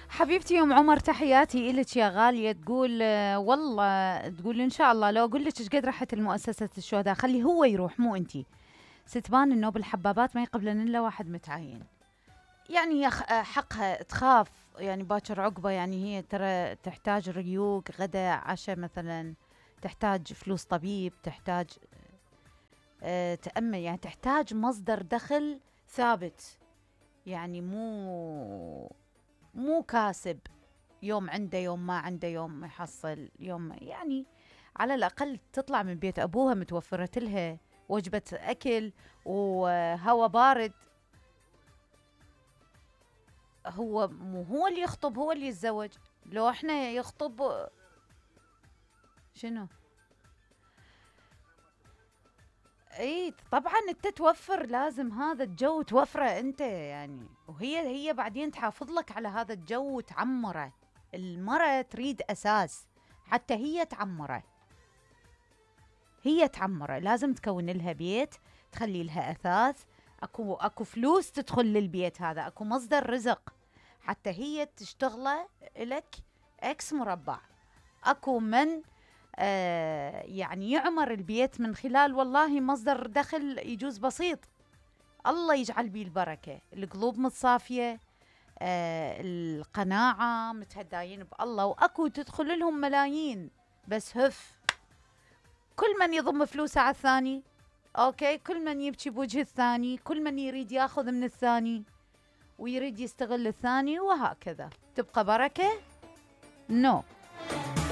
حبيبتي ام عمر، تحياتي إلك يا غالية. تقول والله تقول ان شاء الله لو اقول لك ايش قد رحت المؤسسة الشهداء خلي هو يروح مو انتي. ستبان انه بالحبابات ما يقبلن الا واحد متعين. يعني هي حقها تخاف، يعني باكر عقبه، يعني هي ترى تحتاج ريوق غدا عشاء مثلا، تحتاج فلوس طبيب، تحتاج تأمل، يعني تحتاج مصدر دخل ثابت، يعني مو كاسب، يوم عنده يوم ما عنده، يوم ما يحصل يوم يعني على الأقل تطلع من بيت أبوها متوفرة لها وجبة أكل وهواء بارد. هو مو هو اللي يخطب، هو اللي يتزوج. لو احنا يخطب شنو؟ اي طبعا انت توفر، لازم هذا الجو توفره انت يعني، وهي بعدين تحافظ لك على هذا الجو وتعمره. المرأة تريد اساس حتى هي تعمره، هي تعمره لازم تكون لها بيت، تخلي لها اثاث، اكو فلوس تدخل للبيت هذا، اكو مصدر رزق حتى هي تشتغله لك اكس مربع. اكو من يعني يعمر البيت من خلال والله مصدر دخل يجوز بسيط، الله يجعل بيه البركة، القلوب متصافية، القناعة، متهداين بالله، وأكو تدخل لهم ملايين. بس هف كل من يضم فلوسه على الثاني، أوكي، كل من يبكي بوجه الثاني، كل من يريد ياخذ من الثاني ويريد يستغل الثاني، وهكذا تبقى بركة. نو